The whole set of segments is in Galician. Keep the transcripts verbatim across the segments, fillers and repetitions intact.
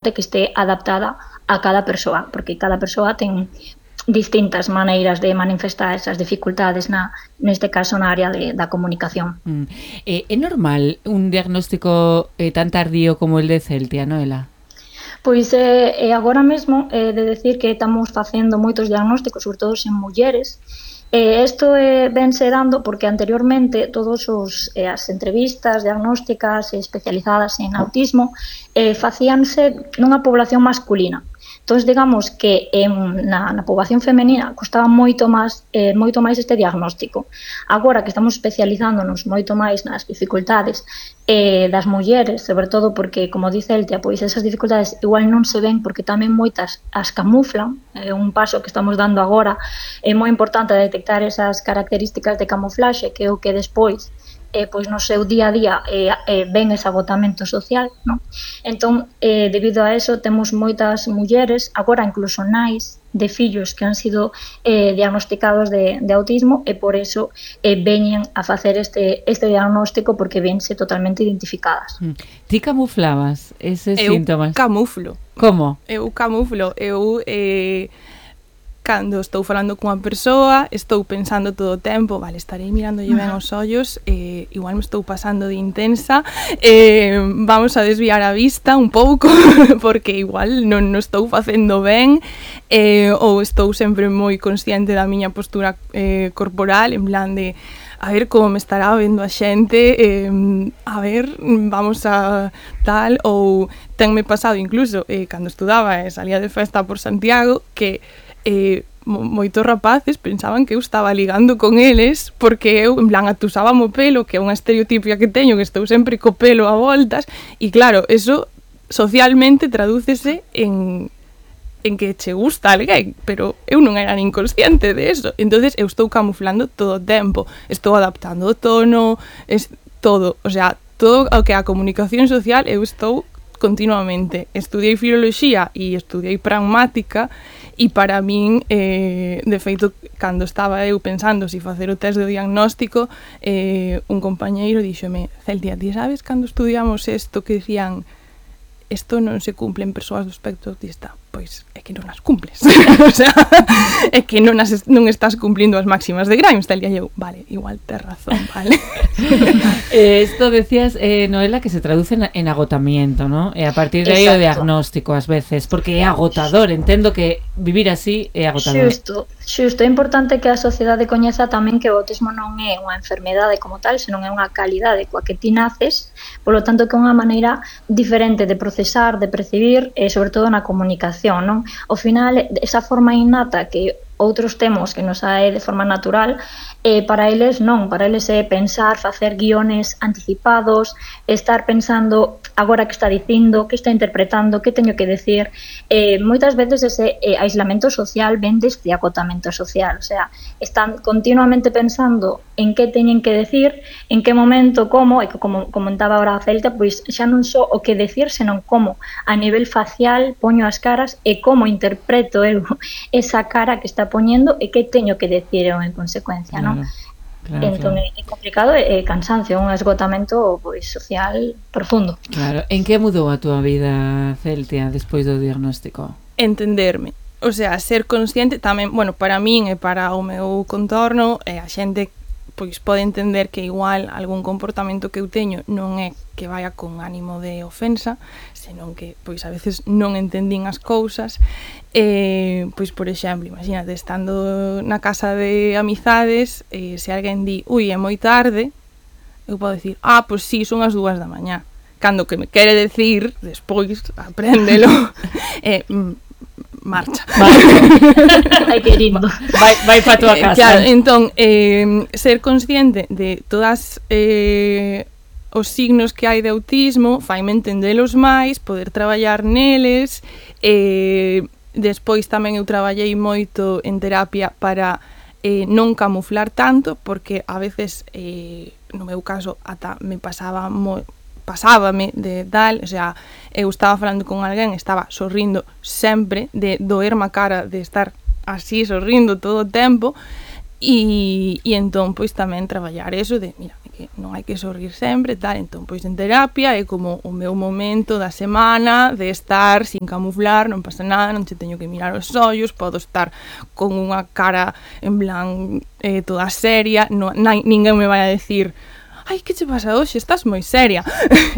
que este adaptada a cada persoa, porque cada persoa ten distintas maneiras de manifestar esas dificultades na, neste caso na área de, da comunicación. Mm. Eh, é normal un diagnóstico eh, tan tardío como el de Celtia, Noela? Pois é, eh, agora mesmo é de decir que estamos facendo moitos diagnósticos, sobre todo en mulleres. Eh, isto eh, vense dando porque anteriormente todos os eh, as entrevistas diagnósticas especializadas en autismo eh, facíanse nunha población masculina. Entón, digamos que en, na, na poboación femenina costaba moito máis, eh, moito máis este diagnóstico. Agora que estamos especializándonos moito máis nas dificultades eh, das mulleres, sobre todo porque, como dice Celtia, pois esas dificultades igual non se ven porque tamén moitas as camuflan. É un paso que estamos dando agora, é moi importante detectar esas características de camuflaxe, que é o que despois eh, pois no seu día a día eh, eh, ven ese agotamento social, non? Entón, eh, debido a eso, temos moitas mulleres, agora incluso nais de fillos que han sido eh, diagnosticados de, de autismo e por eso eh, veñen a facer este, este diagnóstico porque vense totalmente identificadas. Mm. Ti camuflabas eses eu síntomas? Eu camuflo. Como? Eu camuflo. Eu... Eh... Cando estou falando cunha persoa, estou pensando todo o tempo, vale, estarei mirándolle ben os ollos, eh, igual me estou pasando de intensa, eh, vamos a desviar a vista un pouco, porque igual non, non estou facendo ben, eh, ou estou sempre moi consciente da miña postura eh, corporal, en plan de a ver como me estará vendo a xente, eh, a ver, vamos a tal, ou tenme pasado incluso, eh, cando estudaba e salía de festa por Santiago, que eh, moitos rapaces pensaban que eu estaba ligando con eles porque eu, en plan, atusaba o pelo, que é unha estereotipia que teño, que estou sempre co pelo a voltas, e claro, eso socialmente tradúcese en en que che gusta alguén, pero eu non era nin consciente de eso. Entonces eu estou camuflando todo o tempo, estou adaptando o tono, es todo, o sea, todo o que a comunicación social eu estou continuamente. Estudiei filoloxía e estudiei pragmática e para min, eh, de feito, cando estaba eu pensando se si facer o test de diagnóstico, eh, un compañeiro díxome, Celtia, ti sabes cando estudiamos isto que dicían isto non se cumple en persoas do espectro autista? Pois é que non as cumples. O sea, é que non, as, non estás cumplindo as máximas de Grimes. Tal día eu, vale, igual tes razón, vale. eh, esto decías, eh, Noela, que se traduce en, en agotamiento, ¿no? E a partir de aí o diagnóstico ás veces, porque é agotador, entendo que vivir así é agotador. Xusto, xusto, é importante que a sociedade coñeza tamén que o autismo non é unha enfermedade como tal, senón é unha calidade coa que ti naces, polo tanto que é unha maneira diferente de procesar, de percibir, e sobre todo na comunicación, non? Ao final, esa forma innata que outros temos que nos sae de forma natural, eh, para eles non, para eles é pensar, facer guiones anticipados, estar pensando agora que está dicindo, que está interpretando, que teño que decir. Eh, moitas veces ese eh, aislamento social ven deste acotamento social, o sea, están continuamente pensando en que teñen que decir, en que momento, como, e que como comentaba ahora a Celta, pois xa non só o que decir, senón como a nivel facial poño as caras e como interpreto eu esa cara que está poñendo e que teño que decir eu en consecuencia, non? Claro, entón claro. É complicado e cansancio, un esgotamento pois social profundo. Claro, en que mudou a túa vida, Celtia, despois do diagnóstico? Entenderme, o sea, ser consciente tamén, bueno, para min e para o meu contorno, e a xente pois pode entender que igual algún comportamento que eu teño non é que vaya con ánimo de ofensa, senón que pois a veces non entendín as cousas. Eh, pois por exemplo, imagínate, estando na casa de amizades, eh, se alguén di, ui, é moi tarde, eu podo dicir, ah, pois sí, son as dúas da mañá. Cando que me quere decir, despois, apréndelo, eh, marcha. Ai, que lindo. Vai, vai pa tua casa. Claro, entón, eh, ser consciente de todas eh, os signos que hai de autismo, faime entendelos máis, poder traballar neles. Eh, despois tamén eu traballei moito en terapia para eh, non camuflar tanto, porque a veces, eh, no meu caso, ata me pasaba moi pasábame de tal, o sea, eu estaba falando con alguén, estaba sorrindo sempre, de doerme a cara de estar así sorrindo todo o tempo, e, e entón, pois tamén traballar eso de, mira, que que non hai que sorrir sempre, tal, entón, pois en terapia é como o meu momento da semana de estar sin camuflar, non pasa nada, non che teño que mirar os ollos, podo estar con unha cara en plan eh, toda seria, non, na, ninguén me vai a decir ai, que che pasa hoxe, estás moi seria,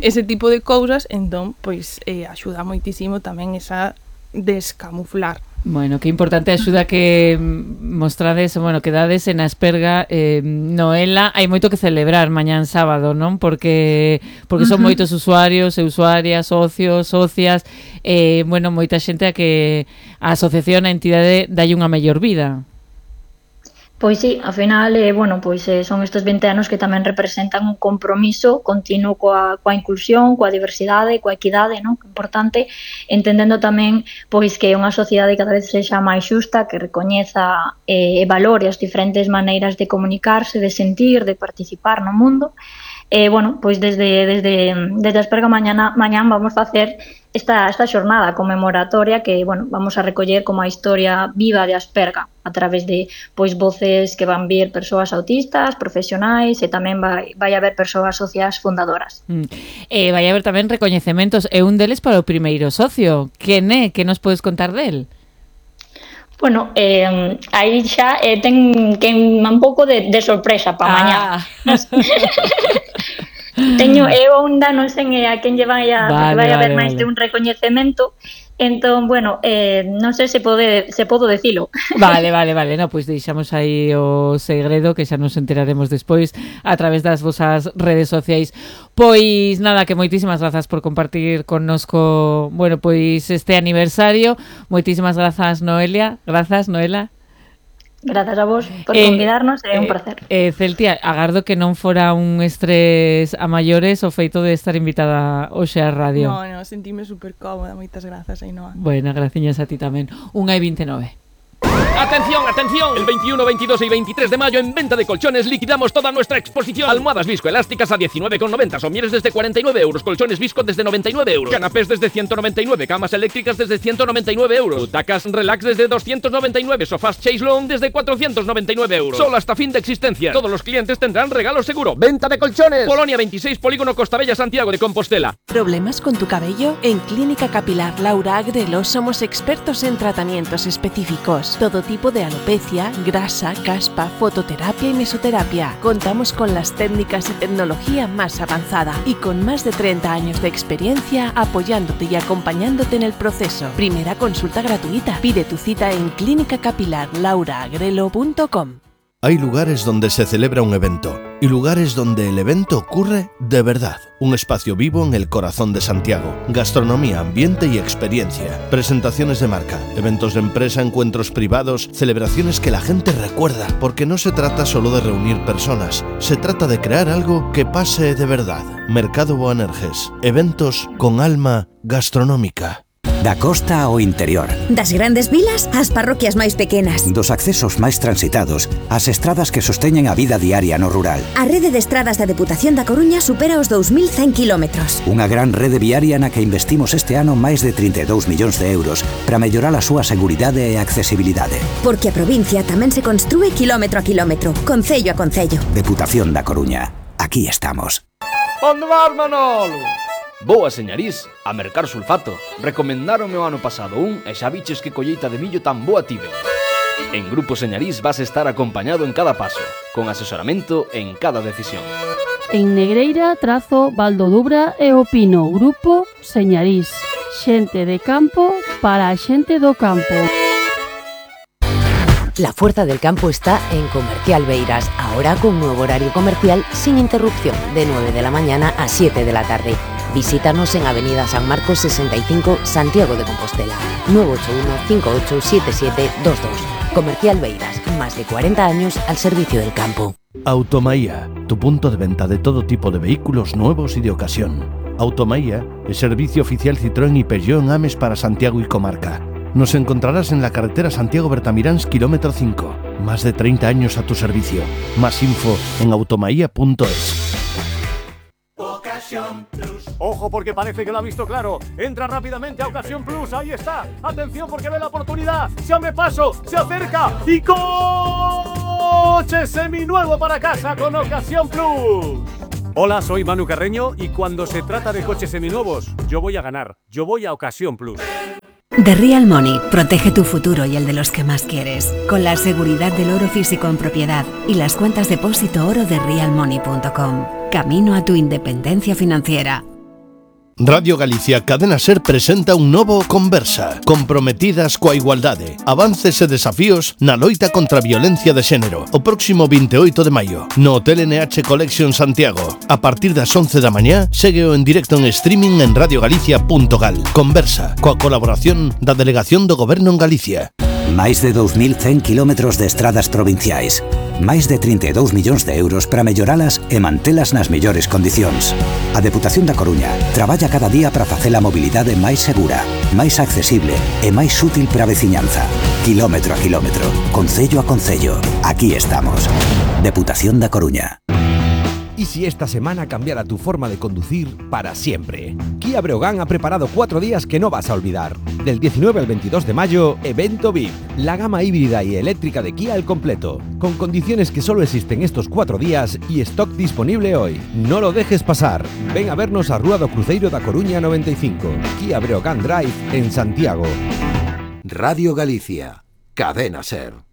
ese tipo de cousas, entón, pois, eh, axuda moitísimo tamén esa descamuflar. Bueno, que importante axuda que mostrades, bueno, que dades en Asperga, eh, Noela, hai moito que celebrar mañán sábado, non? Porque porque son uh-huh. moitos usuarios e usuarias, socios, socias, eh, bueno, moita xente a que a asociación, a entidade, dalle unha mellor vida. Pois sí, ao final, eh, bueno, pois eh, son estes vinte anos que tamén representan un compromiso continuo coa, coa inclusión, coa diversidade, coa equidade, non? Importante, entendendo tamén pois que unha sociedade cada vez sexa máis xusta, que recoñeza eh, e valore as diferentes maneiras de comunicarse, de sentir, de participar no mundo. E, eh, bueno, pois desde, desde, desde Asperga mañana, mañán vamos facer esta, esta xornada conmemoratoria que, bueno, vamos a recoller como a historia viva de Asperga a través de, pois, voces que van vir persoas autistas, profesionais e tamén vai, vai haber persoas socias fundadoras. Mm. E vai haber tamén recoñecementos e un deles para o primeiro socio. Quen é? Que nos podes contar del? Bueno, eh, aí xa eh, ten que un pouco de, de sorpresa para ah. mañá. Teño eu onda, non sei a quen lle vai a, vale, vai a haber vale, máis vale. de un recoñecemento. Entón, bueno, eh, non sei se pode se podo decilo. Vale, vale, vale. No, pois pues deixamos aí o segredo que xa nos enteraremos despois a través das vosas redes sociais. Pois nada, que moitísimas grazas por compartir connosco, bueno, pois este aniversario. Moitísimas grazas, Noelia. Grazas, Noela. Grazas a vos por eh, convidarnos, é un placer. Eh, Celtia, agardo que non fora un estrés a maiores o feito de estar invitada hoxe á radio. No, no, sentíme super cómoda, moitas grazas, Ainhoa. Bueno, graciñas a ti tamén. Unha e vinte e nove. ¡Atención, atención! El veintiuno, veintidós y veintitrés de mayo en Venta de Colchones liquidamos toda nuestra exposición. Almohadas viscoelásticas a diecinueve con noventa, somieres desde cuarenta y nueve euros, colchones visco desde noventa y nueve euros, canapés desde ciento noventa y nueve, camas eléctricas desde ciento noventa y nueve euros, butacas relax desde doscientos noventa y nueve, sofás Chase Long desde cuatrocientos noventa y nueve euros. Solo hasta fin de existencia. Todos los clientes tendrán regalo seguro. Venta de Colchones. Polonia veintiséis, Polígono Costabella, Santiago de Compostela. ¿Problemas con tu cabello? En Clínica Capilar Laura Agrelo somos expertos en tratamientos específicos. Todo tipo de alopecia, grasa, caspa, fototerapia y mesoterapia. Contamos con las técnicas y tecnología más avanzada y con más de treinta años de experiencia apoyándote y acompañándote en el proceso. Primera consulta gratuita. Pide tu cita en clínica capilar laura agrelo punto com. Hay lugares donde se celebra un evento y lugares donde el evento ocurre de verdad. Un espacio vivo en el corazón de Santiago. Gastronomía, ambiente y experiencia. Presentaciones de marca, eventos de empresa, encuentros privados, celebraciones que la gente recuerda. Porque no se trata solo de reunir personas, se trata de crear algo que pase de verdad. Mercado Boanerges. Eventos con alma gastronómica. Da costa ao interior. Das grandes vilas ás parroquias máis pequenas. Dos accesos máis transitados ás estradas que sosteñen a vida diaria no rural. A rede de estradas da Deputación da Coruña supera os dous mil cen kilómetros. Unha gran rede viaria na que investimos este ano máis de trinta e dous millóns de euros para mellorar a súa seguridade e accesibilidade. Porque a provincia tamén se construe kilómetro a kilómetro, concello a concello. Deputación da Coruña. Aquí estamos. Onde vas, Manolo? Vou a Señarís a mercar sulfato. Recomendaronme o ano pasado un e xa biches que colleita de millo tan boa tive. En Grupo Señarís vas estar acompañado en cada paso, con asesoramento en cada decisión. En Negreira, Trazo, Valdodubra e Opino. Grupo Señarís. Xente de campo para a xente do campo. La fuerza del campo está en Comercial Beiras, ahora con nuevo horario comercial sin interrupción, de nueve de la mañana a siete de la tarde. Visítanos en Avenida San Marcos sesenta y cinco, Santiago de Compostela, nueve ocho uno, cinco ocho siete siete dos dos. Comercial Beiras, más de cuarenta años al servicio del campo. Automaía, tu punto de venta de todo tipo de vehículos nuevos y de ocasión. Automaía es servicio oficial Citroën y Peugeot en Ames para Santiago y comarca. Nos encontrarás en la carretera Santiago-Bertamiráns, kilómetro cinco. Más de treinta años a tu servicio. Más info en automaía punto es. Ojo, porque parece que lo ha visto claro. Entra rápidamente a Ocasión Plus. Ahí está. Atención, porque ve la oportunidad. Se abre paso. Se acerca. Y ¡gol! Coche seminuevo para casa con Ocasión Plus. Hola, soy Manu Carreño y cuando se trata de coches seminuevos, yo voy a ganar. Yo voy a Ocasión Plus. The Real Money protege tu futuro y el de los que más quieres, con la seguridad del oro físico en propiedad y las cuentas depósito oro de real money punto com. Camino a tu independencia financiera. Radio Galicia Cadena Ser presenta un novo Conversa, comprometidas coa igualdade, avances e desafíos na loita contra a violencia de xénero, o próximo veintioito de maio, no Hotel N H Collection Santiago. A partir das once da mañá, ségueo en directo en streaming en radio galicia punto gal. Conversa, coa colaboración da Delegación do Goberno en Galicia. Máis de dous mil cen kilómetros de estradas provinciais. Máis de trinta e dous millóns de euros para melloralas e mantelas nas mellores condicións. A Deputación da Coruña traballa cada día para facer a mobilidade máis segura, máis accesible e máis útil para a veciñanza. Kilómetro a kilómetro, concello a concello. Aquí estamos. Deputación da Coruña. ¿Y si esta semana cambiara tu forma de conducir para siempre? Kia Breogán ha preparado cuatro días que no vas a olvidar. Del diecinueve al veintidós de mayo, Evento V I P, la gama híbrida y eléctrica de Kia al completo, con condiciones que solo existen estos cuatro días y stock disponible hoy. No lo dejes pasar. Ven a vernos a Rúa do Cruceiro da Coruña noventa y cinco, Kia Breogán Drive en Santiago. Radio Galicia, Cadena Ser.